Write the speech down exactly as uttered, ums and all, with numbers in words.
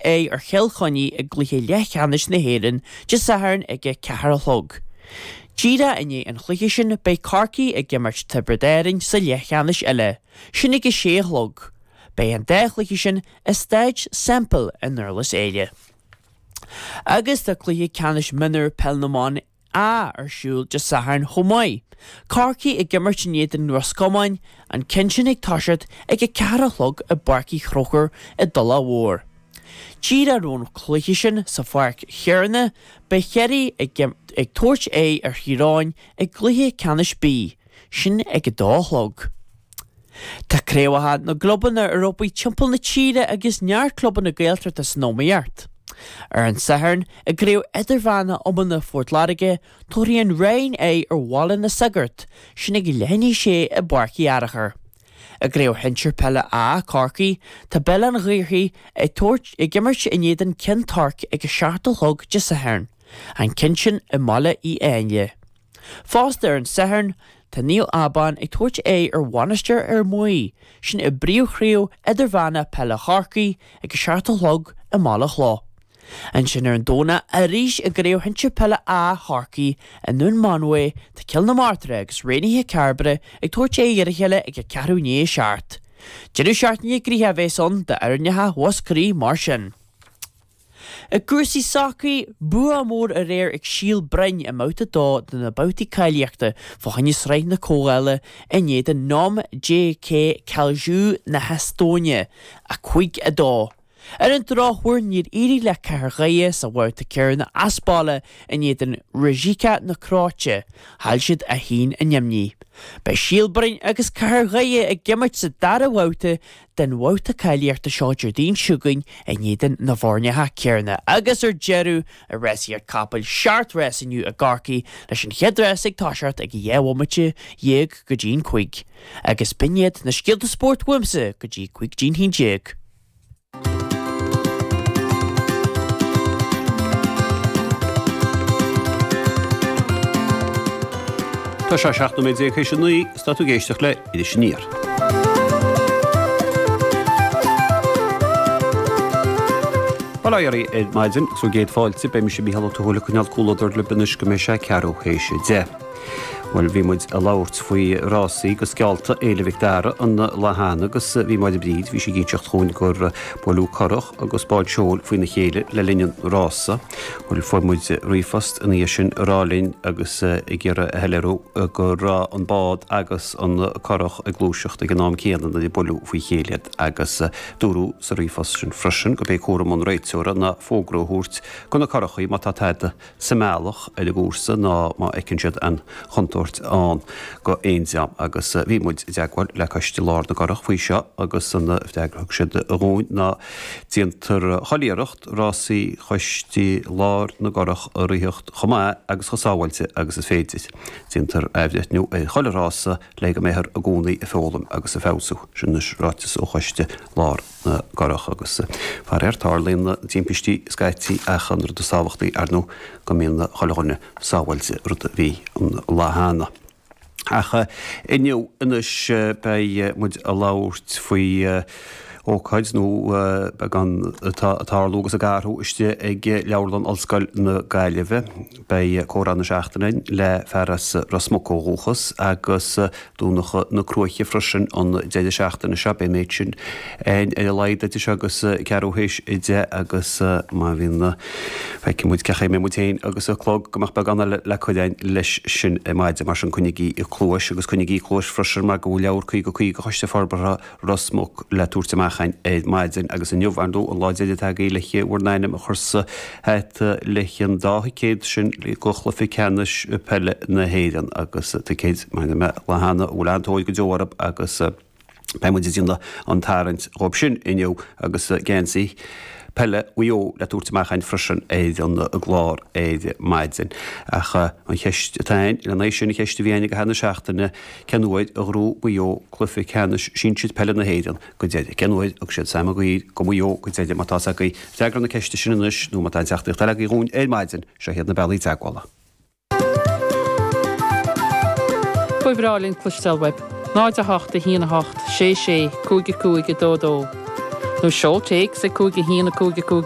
aghaidh ar Chill Chainnigh i gcluiche leathcheannais na hÉireann Dé Sathairn ag a ceathair a chlog. Díreach i ndiaidh an chluiche sin beidh Corcaigh ag imirt Tiobraid Árann sa leathcheannais eile, sin ag a sé a chlog. Beidh an dá chluiche sin i Staid Semple i nDurlas Éile. Agus tá cluiche ceannais mionúr Peil na mBan A ar siúl Dé Sathairn chomh maith. Corcaigh ag imirt in éadan Ros Comáin, an ceann sin ag toiseacht ag a ceathair a chlog i bPáirc Uí Chonchúir i dTulach Mhór. Díreach roimh an chluiche sin sa pháirc chéanna, beidh Ciarraí ag tabhairt aghaidh ar Thír Eoghain i gcluiche ceannais B, sin ag a dó a chlog. Tá craobhacha na gclubanna ar obair timpeall na tíre agus neart clubanna Gaeltachta san iomaíocht. Ar an Satharn, i gCraobh Idirmheánach Iomána Phort Láirge, tabharfaidh an Rinn aghaidh ar Bhaile na Sagart, sin ag leath i ndiaidh a sé i bPáirc Uí Fhearachair. I gCraobh Shinsir Peile A, Corcaigh, tá Béal an Ghaorthaidh ag tabhairt ag imirt in éadan Cionn Toirc ag a seacht a chlog Dé Sathairn, an ceann sin i mBaile Uí Áinle. Fosta ar an Satharn, tá Naomh Abán ag tabhairt aghaidh ar Mhainistir Fhear Maí, sin i bPríomhchraobh Idirmheánach Peile Chorcaí ag a seacht a chlog i mBaile Chloich. Ansin ar an Domhnach arís i gCraobh Shinsir Peile A Chorcaí i nDún Mánmhaí tá Cill na Martra agus Raonaithe Cairbre ag tabhairt aghaidh ar a chéile ag a ceathrú i ndiaidh a seacht. Deireadh seachtaine gnoitheach a bheas ann d'fhoirneacha Mhúscraí mar sin. I gcúrsaí sacair, bua mór aréir ag Síol Broin i mbabhta a dó de na babhtaí cáilíochta fá choinne Sraith na Comhdhála in éadan Nõmme JK Kalju na hEastóine, a cúig a dó. Ar an drochuair níor éirigh le Cathair Dhoire sa bhabhta céanna as baile in éadan Rijeka na Cróite, chaill siad a haon a neamhní. Beidh Síol Broin agus Cathair Dhoire ag imirt sa dara bhabhta den bhabhta cáilíochta seo Déardaoin seo chugainn in éadan na bhfoirneacha céanna. Agus ar deireadh, i rásaíocht capaill, seacht rás inniu i gCorcaigh leis an chéad rás ag toiseacht ag a dhá bhomaite dhéag go dtí'n cúig. Agus b'in iad na scéalta spóirt uaimse go dtí cúig dtí'n haon déag. Tá sé seacht nóiméad déag théis a naoi is tá tú ag éisteacht le Iris Aniar. Bail ó Dhia oraibh ar maidin agus bhur gcéad fáilte, beidh mise Mícheál Ó Tuathail ag coinneáil comhluadar libh anois go mbeidh sé ceathrú théis a deich. Bhuel, bhí muid ag labhairt faoi rásaí go sceálta Fhéile Mhic Dara an lá cheana agus bhí Máire Bríd, bhí sí ag inseacht dhúinn gur buaileadh curach agus bád seoil faoina chéile le linn an rása. Bhuel, fuair muid ríomhphost ina dhiaidh sin ag rá linn agus ag iarraidh a shoiléiriú go raibh an bád agus an curach ag gluaiseacht ag an am céanna nuair a buaileadh faoi chéile iad agus dúradh sa ríomhphost sin freisin gurb é cúram an réiteora ná fógra a thabhairt do na curachaí má tá tada sa mbealach ar an gcúrsa ná má fheiceann siad aon chontúirt ann go aon dream agus bhí muid i dteagmháil le Coiste Lár na gCurach faoi seo agus an freagra a thug siad dhúinn ná déantar chuile iarracht rásaí Choiste Lár na gCurach a ritheacht chomh maith agus chomh sábháilte agus is féidir. Déantar athbhreithniú ar chuile rása le go mbeifear i gcónaí ag foghlaim agus ag feabhsú. Sin anois ráiteas ó Choiste Lár na gCurach agus faraor tarlaíonn timpistí scaití ach an rud is tábhachtaí ar ndóigh go mbíonn chuile dhuine sábháilte, rud a bhí an lá cheana. Ach inniu anois beidh muid ag labhairt faoi ócáid nó beagán atá ag tarlú agus ag athrú istigh ag Leabharlann Ollscoil na Gaillimhe. Beidh comhrá na seachtaine againn le fear as Ros Muc ó dhúchas agus Donncha na Cruaiche freisin an deireadh seachtaine seo. Beidh an méid sin ar a laghad idir seo agus ceathrú théis a deich agus má bhíonn, feicfidh muid cén chaoi a mbeidh muid féin agus an clog go mbeadh beagán eile le cur againn leis sin ar maidin. Mar sin coinnigí cluais agus coinnigí cluais freisin mar go bhfuil leabhar caoga caoga Choiste Forbartha Ros Muc le tabhairt amach againn ar maidin agus inniu, ar ndóigh, an lá deiridh atá agaibh le bhur n-ainm a chur sa hata leis an dá thicéad sin go chluiche ceannais peile na hÉireann agus ticéid, mar a dúirt mé an lá cheana, a bhfuil an-tóir go deo orthu agus beidh muid ag déanamh an tarraingt dhóibh sin inniu agus geansaí peile Mhaigh Eo le tabhairt amach againn freisin ar an gclár ar maidin. Ach an cheist atá againn, lena aghaidh sin, an cheist a bhí againn ag caitheamh na seachtaine, cén uair a ghnóthaigh Maigh Eo cluiche ceannais sinsir peile na hÉireann go deireadh? Cén uair a thug siad Sam Maguire go Maigh Eo go deireadh? Má tá fhios agaibh freagra na ceiste sin anois nó má tá aon teachtaireacht eile agaibh dhúinn ar maidin, seo iad na bealaí teagmhála. Ba bhreá linn cloisteáil uaibh. náid a hocht a haon a hocht sé sé cúig a cúig a dó dó. Nó seol téacs ag cúig a haon a cúig a cúig.